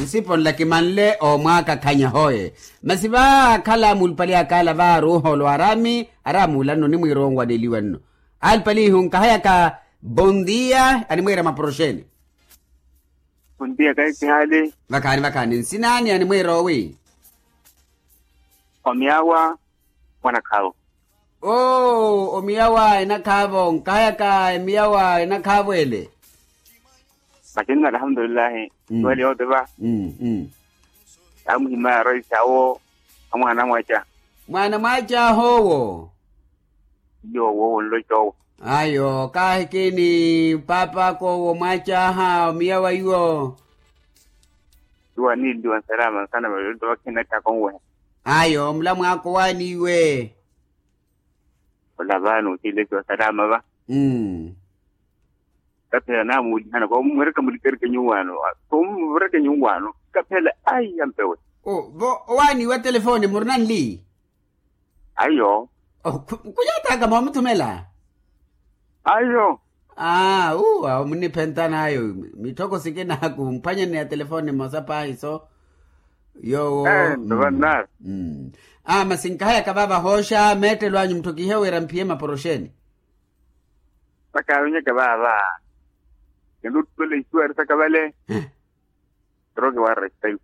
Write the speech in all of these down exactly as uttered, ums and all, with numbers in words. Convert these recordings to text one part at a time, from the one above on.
Sipo nla kimanle omwaakakhanya hoye. Masi vaakhala mulupali akaala vaari ohoolo arami aramuulano ni mwiira onwaneliwa nno. Alupali ihu nkahayaka. Bondia animwiira maporoxeni. Bondia kahikihaali. Vakhaani vakhaani nsinani animwiira owi? Omiyawa. Mwanakhaavo. Oo omiyawa enakhaavo nkahayaka emiyawa enakhaavo ele. Macinna alhamdulillahi. Weli yote va. Amuhimaya raisi awo. Amwana mwaca. Mwana mwaca ahoowo. Iyo wowo nloca owo. Ayo kaahikini paap'aka owo mwaacaha omiya wa iwo. Iwo aniiliwa nsalama nsana vakhina cakonweha. Ayo mulamw'aka owaaniiwe. Ola vaana otiileke osalama va. Kaphela namuulihana koomumwereka mulikereke nyuwaano. Koomumwereka nyuwaano kaphela ai yampewe. Vo owaaniiwa telefoni murina nli. Ayo. Khuyaataka moomuthumela. Ayo. Aa uwa muniphentana ayo. Mitthoko sikinaaku mphwanyaneya telefoni mmosa paahi so. Yoowo. Masi nkahayaka vaava hooxa meettelo anyu mutthokihe wira mphiye maporoxeni. Vakaavinyaka vaava. Kinluttuvela isuwari saka vale. Kiroke waresta iwe.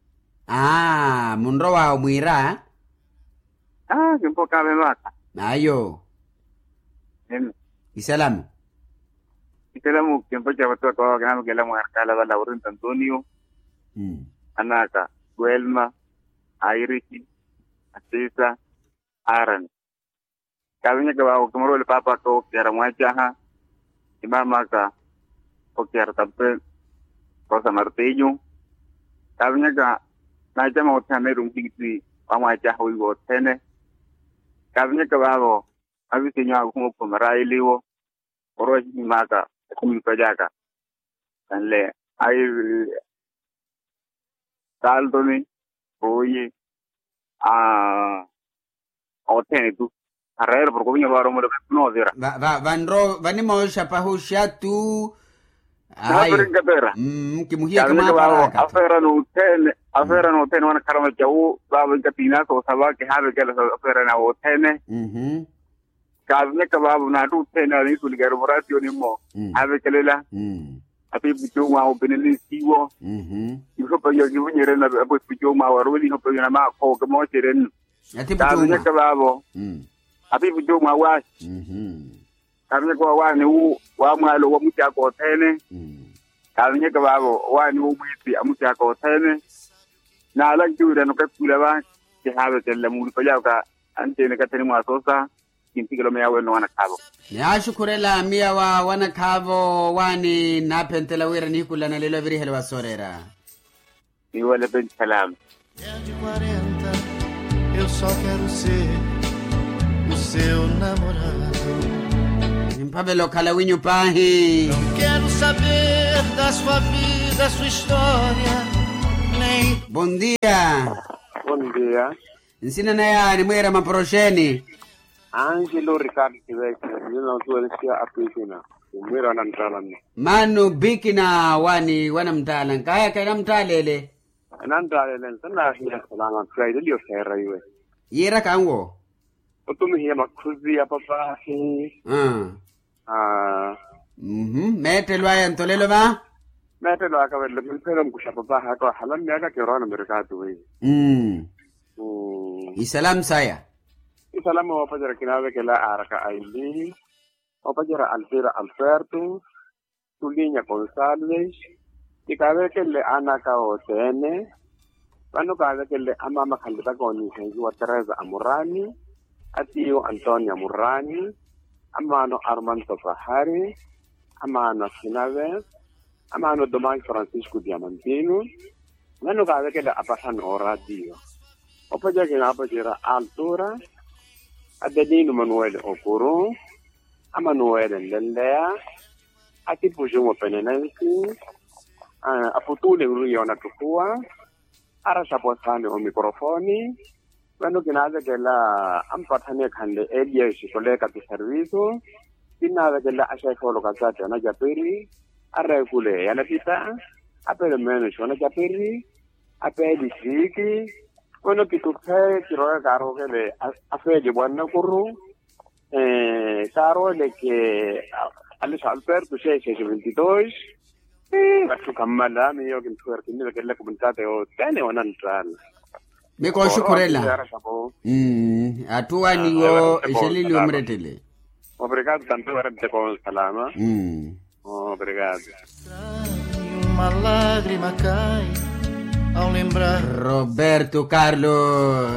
Aa munrowa mwiira. Aa kimpoka vevaka. Ayo. Isalamu. Isalamu kimpoca vatuwaka wawa kinamukela mwaarkala vala urinta antonio. Anaka welma, airisi, asisa, arani. Kaavinyaka vaavo kimurowele paap'aka owo kiyara mwaacaha. Ni maam'aka owo kiyara tampe. Kosa martinyu. Kaavinyaka naacama othena neeri omutikiti wa mwaacaha wiiwa othene. Kaavinyaka vaavo avisenyu aka khumupuma raayeliwo. Orowa exihim'aka ekhumipali aka. Kanle ai. Taltoni. Ruyi. Othene tu. Areero porke ovinya vaaromole vakunoovira. Vanro vanimooxa pahuxa tu. Ayo. Kimuhiye kimwaparaka. Afeerana othene. Afeerana othene wanakharamaca wu vaavo nkatiinaka osava kihaavekela. Afeerana awo othene. Kaavinyaka vaavo naatthi othene aniisulikari muraatiyoni mmo. Haavekelela. Atiiputi omwaawe opinenisiwo. Ihopa iyo kivunyereno. Atiiputi omwaawe aroweli ihopa iyo namaakho kimooxereno. Kaavinyaka vaavo. Atiiputi omwaawe ahi. Kaavinyaka vaavo owaani wu wamwaalo wa mucaaka othene. Kaavinyaka vaavo owaani womwiipi a mucaaka othene. Naala nkiwirana okakhula va. Kihaavekelela muulupali aka. Anci-ene katheni mwaasosa. Kinthikela omeya wenno wanakhaavo. Nihaaxukhurela miya wa wanakhaavo owaani nnaaphentela wira nihiku nla nalelo avirihela wa sooreera. Niwale pensalama. Nimphavela okhala winyu paahi. Bondia. Bondia. Nsina naya nimwiira maporoxeni. Angelo ricardo tiveke. Nina otuwelesiya apikina. Nimwiira wananttala nno. Mano bikina wani wanamttala nkahayaka enamttala ele. Enamttala ele nsanaahiya salama nthu yaileliyo seera iwe. Yiiraka nwo. Otumihiya makhuzi ya papaahi. Meettelo aya ntolelo va. Meettelo aka velelo kimpheela omukuxa papaahi aka wahalammyaka kiroona merikaatu weiyo. Isalamu saya. Isalamu woopacerya kinaavekela araka aili. Oopacerya alfira alferto. Tulinya gonsalves. Ti kaavekelele anaka othene. Vano kaavekelele amaama khanlipaka oniihenkiwa teresa amurani. Atiyo antonia murani. Amaano armanto pahari. Amaano asinave. Amaano tomasi francisco diamantino. Vano kaavekelele apahano oratiyo. Opacakina apacerya altura. Adelino manuwele okuru. Amanuwele nlenleya. Atipuxu mupenenensi. Aputule nru yoona tukuwa. Araxapo saani omikorofoni. Vano kinaavekela ampathani ekhanle eliya exikoleeka ti servisu. Kinaavekela axefe oloka caati onacapiri. Areekule yanapita. Apelo menos onacapiri. Apeeli siiki. Weno kitupe kiroya kaarookele afeeli bwannakuru. Kaarooleke aliso alperto xexe xeventitos. Vatthu kammala miyo kinthuwera kinnivekelelaka muntaata yothene wananttaala. Mikooxukhurela. Atthu waniwo exeleliwe murettele. Obrigado tampe waratte konsalama. Obrigado. Uma lágrima cai ao lembrar. Roberto Carlos.